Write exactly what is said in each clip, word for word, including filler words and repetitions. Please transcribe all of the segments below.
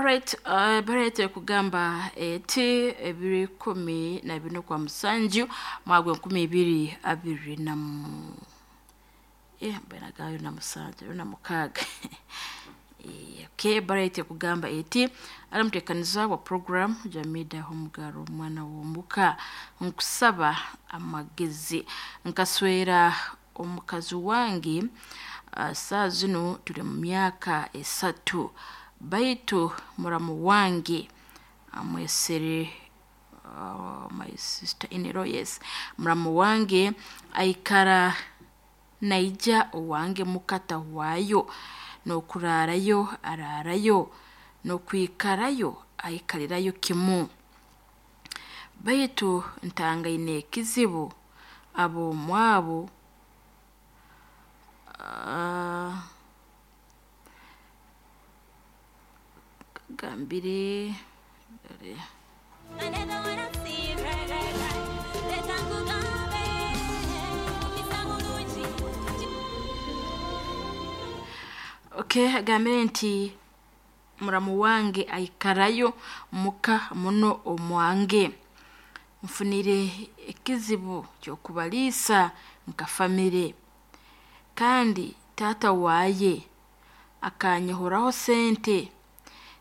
Alright, uh, barete kugamba eti ebiri kumi na bino kwa musanju mwagwe nkumi ibiri abiri na mu eh mbena gayo na musanju na mukaga. Eh, okay, barete kugamba eti alamutekaniza wa program Jamida Homugaro omwana w'omuka nkusaba amagezi nkaswera omukazi wange. Uh, saa zino tuli mu myaka esatu, baitu muramu wange amwesere, uh, my sister in law, yes, muramu wange aikara naija owange mukata waayo, n'okuraarayo araarayo, n'okwikarayo aikalirayo kimu, baitu ntangaine ekizibu ab'omwabo uh, gambire. Okay, agambire nti muramu wange aikarayo muka muno omwange, nfunire ekizibu ky'okubaliisa nka famire, kandi taata waaye akanyehoraho sente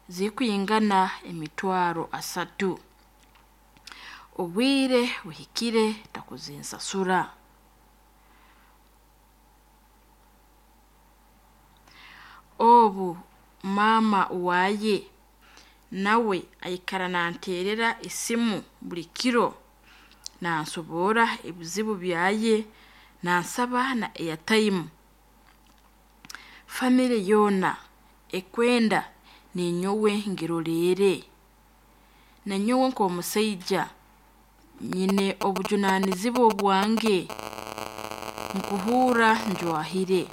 zikwingana emitwaro asatu, obwire buhikire takuzinsasura. Obu maama waaye nawe aikara nanteerera esimu buli kiro, nansoboora ebizibu byaye, nansaba na airtime. Famire yoona ekwenda ninyowe ngiroleere, nanyowe nk'omusaija nyine obujunaanizibwa obwange, nkuhuura njwahire.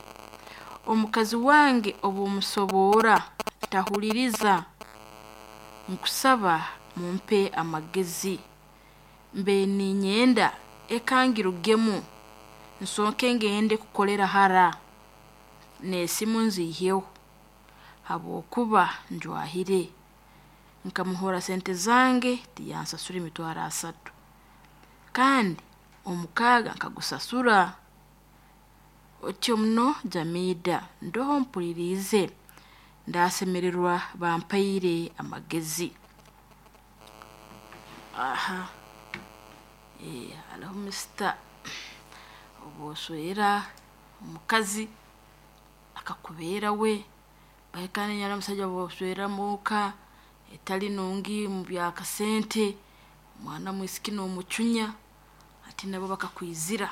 Omukazi wange obumusoboora tahuliriza, nkusaba mumpe amagezi, mbe ninyenda ekangirugemu nsooke ngende kukolera hara, n'esimu nziiheho habwokuba njwahire, nkamuhora sente zange tiyansasura emitwaro asatu, kandi omukaaga nkagusasura. Otyo muno Jamida, ndoho mpuliriize, ndasemererwa bampaire amagezi. Aha, eh, hariho misita obwoswera omukazi akakubeera we bahikana nyara omusajja bwoswera muka etali nungi mu byakasente, omwana mwisiki n'omucunya ati nabo bakakwizira.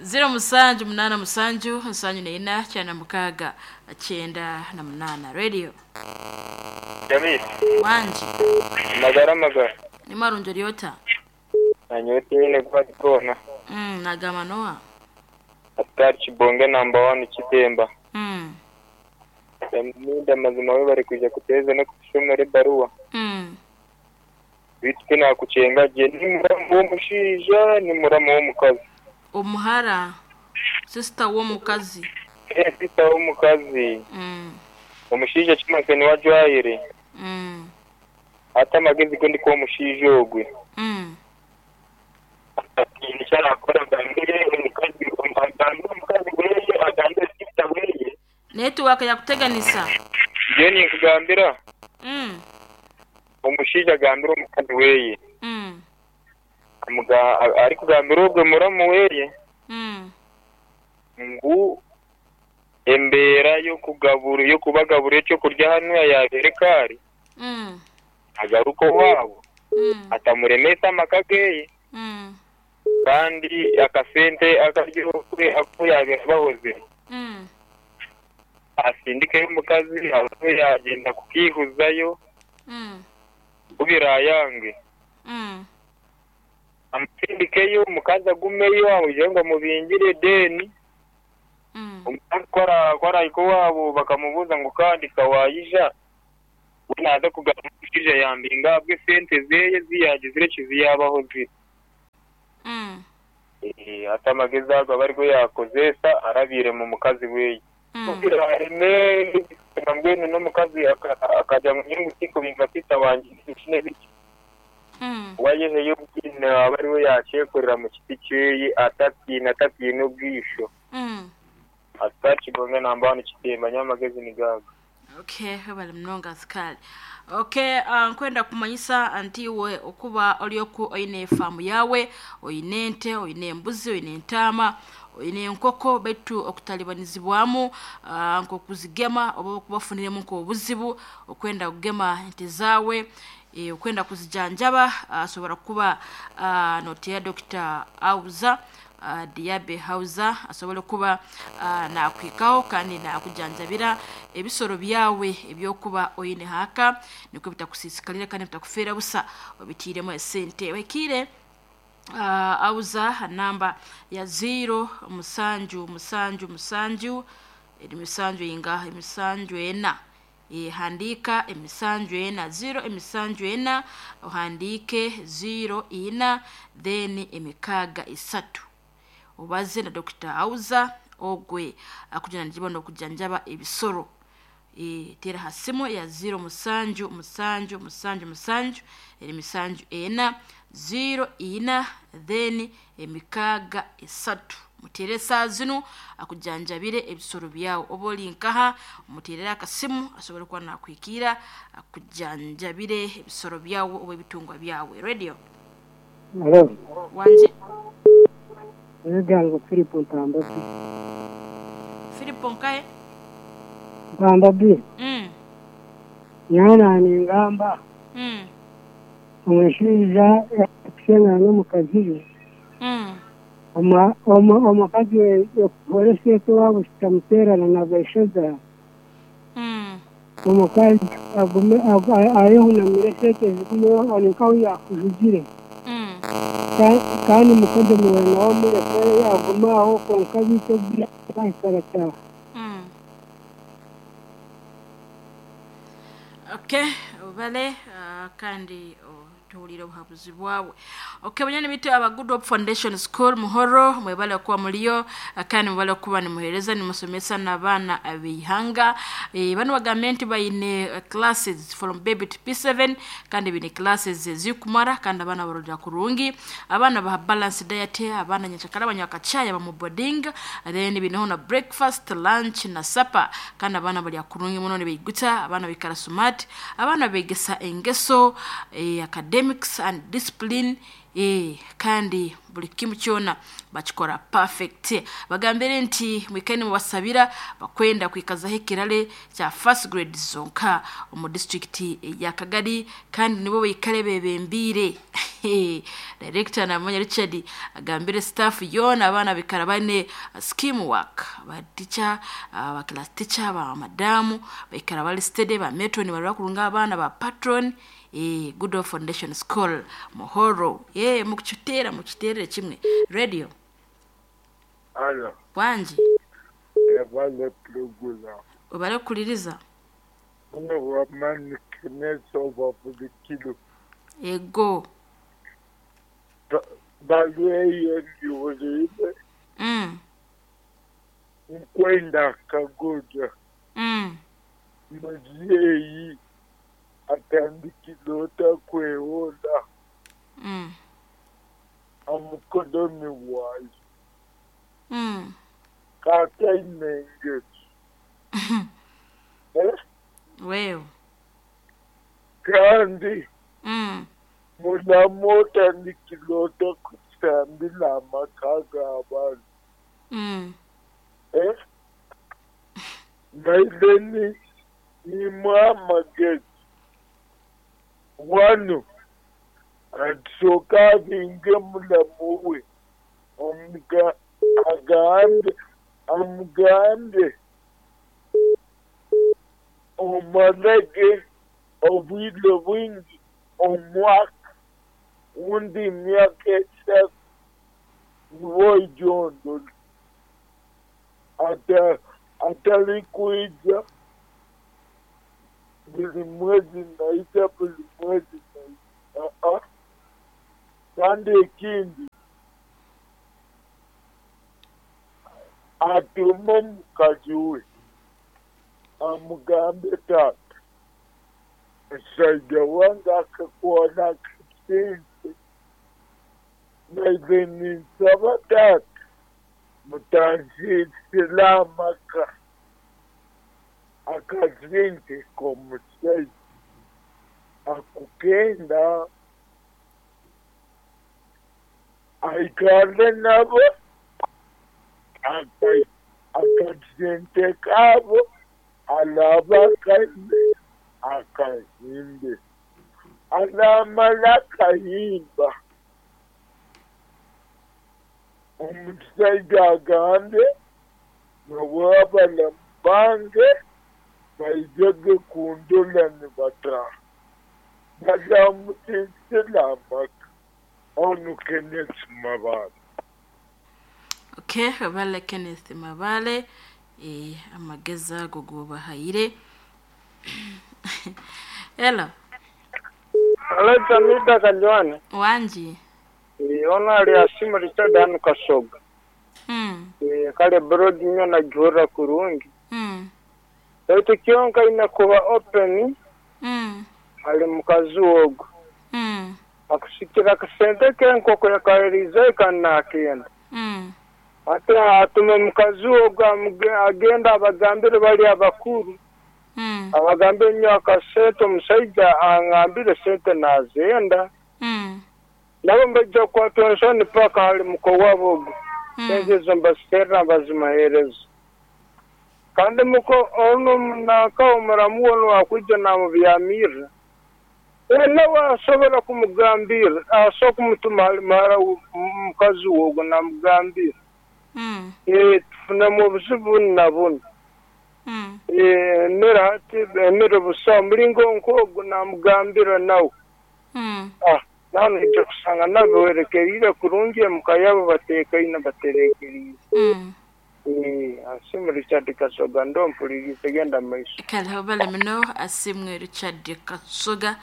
Zero musanju munana musanju nsanju neina kyana mukaaga kyenda na munana. Radio Jamil, wanji magara magara ni marunjo ryota nanyote nyine gwagikona mm, nagamba noa atari Kibonge number one Kitemba. mm. Jamida, mazima we bari kuja kuteza no kutushomera ebaruwa mm. bitu nakucenga je ni muramu w'omushaija ni muramu w'omukazi. Omuhara sister w'omukazi. Eh, sister w'omukazi. mm. Omushaija kimase niwe ajwahire mm. ate amagezi go ndikuha omushaija ogwe mm. ati nikyarakora agambire omukazi, agambire omukazi weye, agambire sister weye. Network yakuteganisa. Njewe ninkugambira mm. omushaija agambire omukazi weye mm. amuga arikugambira ogwe muramu weye mm. ngu embeera y'okugabura y'okubagabura ekyokurya hanu yabeere kaari mm. agaruka owaabo mm. atamuremesa amaka geye mm. kandi akasente akaryo aku yabeera bahozire mm. asindikeyo omukazi abe yagenda kukihuzayo mm. kubirayange mm. amusindikeyo omukazi agumeyo amugire ngu amubingire deni mm. omukazi kwarahika owaabo bakamubuuza ngu kandi kawayija we naaza kugamba omushaija yambinga ahabwe sente zeye ziyagizire kiziyabaho ziri. mm. Eh, ate amagezi ago aba arigo yakozesa arabiire mu mukazi weye mm. kubirareme. Mbwenu n'omukazi akajya mu nyungu tikubinga sita wanjye n'ibiki. Mm. Wayeheyo ubwine aba ari we yacekorera mu kiti cyeye atatina atatina ubwisho. Mm. Atakibonga namba kitemba nyamagezi ni gaga. Okay, bali mnonga askari. Okay, uh, nkwenda kumanyisa anti we okuba olyoku oine famu yawe, oine ente, oine embuzi, oine entama, oine enkoko betu okutalibanizibwamu uh, nk'okuzigema oba okubafuniremu nk'obuzibu okwenda kugema ente zawe e, okwenda kuzijanjaba asobora uh, kuba uh, noteya Doctor Auza uh, Diabe Hauza asobole kuba uh, nakwikaho kandi nakujanjabira ebisoro byawe ebyokuba oyine haka niko bitakusisikalira kandi bitakufera busa obitiremo esente wekire uh, auza namba ya zero musanju musanju musanju emisanju inga emisanju ena e, handika emisanju ena zero emisanju ena ohandike zero ina then emikaga isatu obaze na Doctor Auza ogwe akujana njiba no kujanjaba ebisoro e, tera hasimu ya zero musanju musanju musanju musanju emisanju ena zero ina then emikaga isatu mutere saa zino akujanjabire ebisoro byawe oba oli nkaha muterere akasimu asobole kuba nakwikira akujanjabire ebisoro byawe oba ebitungwa byawe. Radio Hello. Wanje Egango Philip Ntamba. Philip Nkaye Ntamba B. Mm. Yana ningamba. Mm. Omushaija yakusenga n'omukazi. Mm. Oma oma omukazi yakukolesa wabo kitamuterana na baishoza. Mm. Omukazi agume ayehunamire sente zigume aninkaho yakujugire. Mm. Kandi mukozi muwena wamureke agumaho konka bito byakarata. Mm. Okay, obale uh, kandi oh, tuwulire obuhabuzi bwawe. Okay, banyani bitu aba Good Hope Foundation School Muhoro mwebale kuba muliyo kandi mwebale kuba nimuhereza nimusomesa n'abaana ab'eihanga. E, bano bagambe nti bayine classes from baby to P seven kandi bine classes zikumara kandi abaana barondera kurungi, abaana baha balance diet, abaana nyenchakara banywa akachaya bamu boarding, then bineho na breakfast, lunch na supper kandi abaana balya kurungi muno nibeiguta, abaana bikara smart, abaana begesa engeso e, academics and discipline eh kandi buli kimu kyona bakikora perfect. Bagambire nti mwikeni mubasabira bakwenda kwikazaho ekirale kya first grade zonka omu district ya Kagari kandi nibo baikare bebembire. Director Namanya Richard agambire staff yona abaana bikara bane scheme work ba teacher ba class teacher ba madamu baikara bali steady ba matron barwa kurunga abaana ba patron eh Good Hope Foundation School Muhoro. Eh mukchutera mukchiterere kimwe. Radio Alo. Wanji Ebale plugula. Obale kuliriza. Uno wamani kineso wabulikilo. Ego. Balwe yuribe. Mm. Nkwenda kagoja. Mm. Mzee atandikilota kweola. Mm. Amukodomi wayi. Mm. Kata inenge. Eh? Wewe. Kandi. Mm. Mulamota nikilota kusambila makaga abantu. Mm. Eh? Naileni ni mama geti. Wano. Atsoka binge mulamuwe. Omuga agambe amugambe omalege obwile bwingi omwaka undi myaka esatu niwoijondo ata atali kuija buli mwezi naija buli mwezi naija uh-uh. Kandi ekindi atume omukazi we Amugambe tata omushaija wange akakwana akasente naize ninsaba tata mutansiisira amaka akasente k'omushaija akukenda aikare nabo akasente kabo alaba akaime akahimbe alamala akahimba omushaija agambe nabo abalamu bange baijege kundola nibataha bazamutsinsira amaka onu Kenneth Mabale. Okay, Mabale Kenneth Mabale eh amagezi ago gobahayire. Hello. Hello, Jamida Kajwane. Wanji. Ona ali asimu Richard hanu Kasoga. Mm. E, kale broad nyo najura kurungi. Mm. Baitu kyonka ina kuba open. Mm. Ali mukazi ogu. Mm. Akusikira akasente k'enkoko yakaririza ikanakenda. Mm. Ate atume mukazi ogu agenda abagambire bali abakuru. Mm. Abagambire nyo akasente omushaija angambire sente nazenda. Mm. Nabo mbaija kukwatwa ensoni paka hali muko wabo ogu. Mm. Sente ezo mbaziterera mbazimuheereza. Kandi muko onu naka omuramu onu akwija namubyamirra. Nawe asobola kumugambira, asobola kumutuma hali muhara mukazi wogo namugambira. Mm. Eh, tufunemu obuzibu bunu na bunu. Mm. Eh, emere hati emere busa omulingo nk'ogu namugambira nawe. Mm. Ah, nawe noija kusanga nabiwerekerire kurungi emuka yabo bateekaine baterekerire. Mm. Eh, asimu Richard Kasoga ndo mpulirize genda maiso. Kale obale muno asimwe Richard Kasoga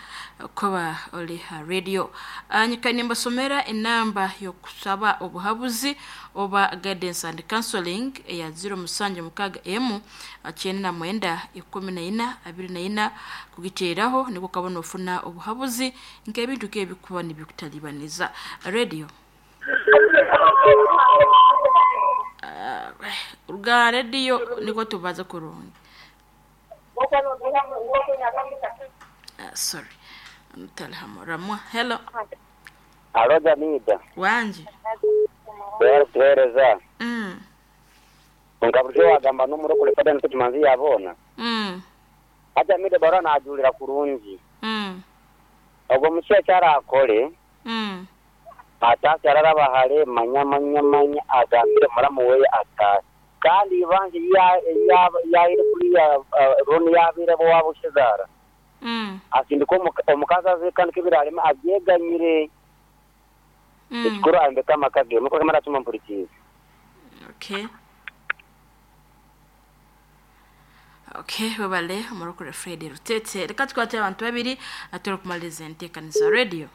kuba oli ha radio. Anyika nimbasomera enamba y'okusaba obuhabuzi oba guidance and counseling eya zero musanju mukaga emu kyenda na mwenda ikumi na ina abiri na ina kugiteeraho niko kabona ofuna obuhabuzi nk'ebintu k'ebikuba nibikutalibaniza. Radio. Ruga radio niko tubaza kurungi. Uh, sorry. Mtalhamu Hello. Alo Jamida. Wanji. Wera kutuhereza. Mm. Nkaburyo wagamba n'omurokole fada nitukimanzi yabona. Mm. Jamida bara najulira kurungi. Mm. Ogwo mushaija arakore. Mm. Atasi araraba hare manya manya manya agambire muramu weye atasi. Kandi ibanje ya ya ya kuriya roni yabire bo wabushizara. Mm. Asindika omukazi aze kandi kibirarema abyeganyire. Mm. Ekikuru ambeka amaka ge muko kamara tuma mpurikize. Okay. Okay, babale omurokore Fred Rutete. Reka tukwate abantu babiri atoro kumaliza enteekaniza radio.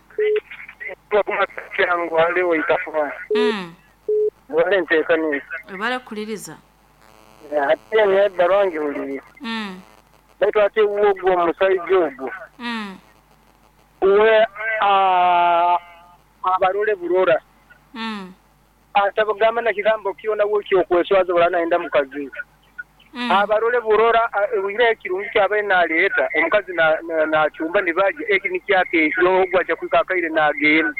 Yangu haliwo itafuha. Mm. Wale nteekanisa. Babale kuliriza. Ate ne huliri. Mm. Baitu ate ogwo omushaija ogwo. Mm. Uwe a abarole burora. Mm. Atabagamba na kigambo kyona wiki okweswaza baranaenda mukazi. Mm. Abarole burora wire ekirungi kyabaye naleeta omukazi na na chumba nibaje eki nikyakesho ogwo aja kwikakaire nagenda.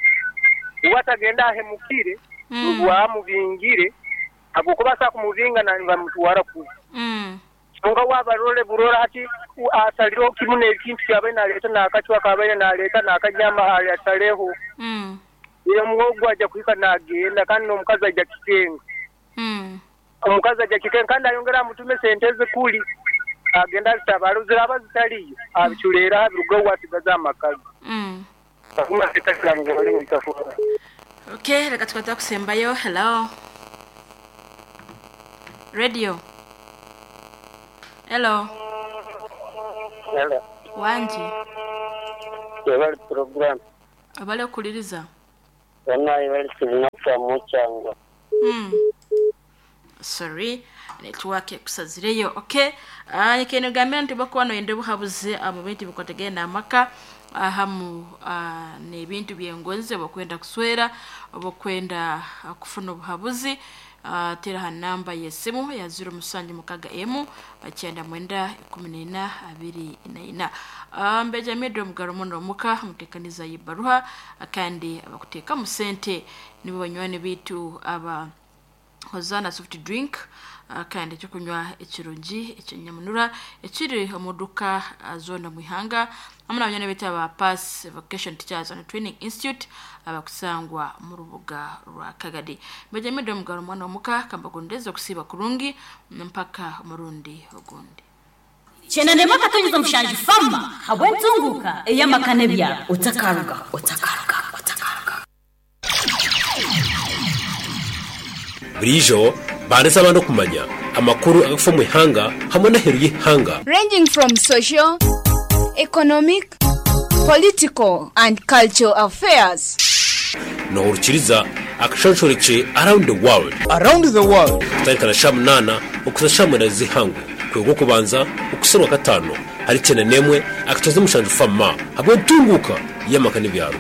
Uwatagenda ahemukire Mm. wamubingire agokuba kumubinga na bamutwara ku. Mm. Nga wabarole burora ati asaliro kimune ekintu kyabaye naleeta nakachwa kabaye naleeta nakanyama asaleho. Mm. Iyo mwogo aja kwika nagenda kandi n'omukazi aja kitenga. Mm. Omukazi aja kitenga kandi ayongera amutume sente ze kuli agenda zitabalo ziraba zitaliyo abiculera abiruga wasigaza amakazi. Mm. Akuma sitakira ngo bali mutafura. Okay, reka tukwate kusembayo. Hello. Radio. Hello. Hello. Wanji. Ebali program. Abale kuliriza. Bana ebali sinaka muchangwa. Mm. Sorry. Network ekusazireyo. Okay, uh, nikene gambira nti bakuba noyenda obuhabuzi uh, mu bintu bikwatagene n'amaka ahamu uh, n'ebintu byengonzi, oba kuswera oba kwenda uh, kufuna obuhabuzi, uh, tera ha namba y'esimu ya ziro musanju mukaga emu kyenda mwenda ikumi n'ena abiri na ina. uh, mbeja mido mugaro muno omuka mutekaniza yibaruha, kandi abakuteekamu sente nibo banywani bitu aba Hozana soft drink, uh, kandi ekyokunywa ekirungi ekyenyamunura ekiri omuduka uh, zona mwihanga, hamwe n'abanywana betu aba Pass Vocation Teachers and Training Institute abakusangwa mu rubuga rwa Kagadi. Mbejamidde omugalo omwana omuka kambagondeza okusiiba kurungi mpaka omurundi ogundi. Chenandema katonyiza mushanju fama habwentunguka eyamakane bya Otakaruga, otakaruga, otakaruga. Burijo bandetse abantu kumanya amakuru agafa mu ihanga hamwe n'aheru y'ihanga, ranging from social, economic, political, and cultural affairs. Nohurukiriza akashonshoreke around the world. Around the world. Kutarikana sha munana okuza sha mwenda z'ihangu kwego kubanza okuserwa katano hari cyenda nemwe akatoza umushanju fama hamwe ntunguka y'amaka n'ibyaro.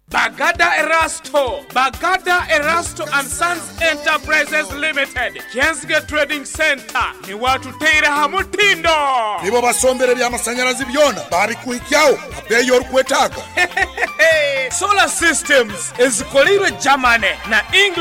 Bagada Erasto, Bagada Erasto and Sons Enterprises Limited, Kensge Trading Center, ni watuteire hamutindo. Nibo basombere by'amasanyarazi byona babikuhikyaho abeyo orikwetaaga. Solar systems ezikolirwe Germany na England.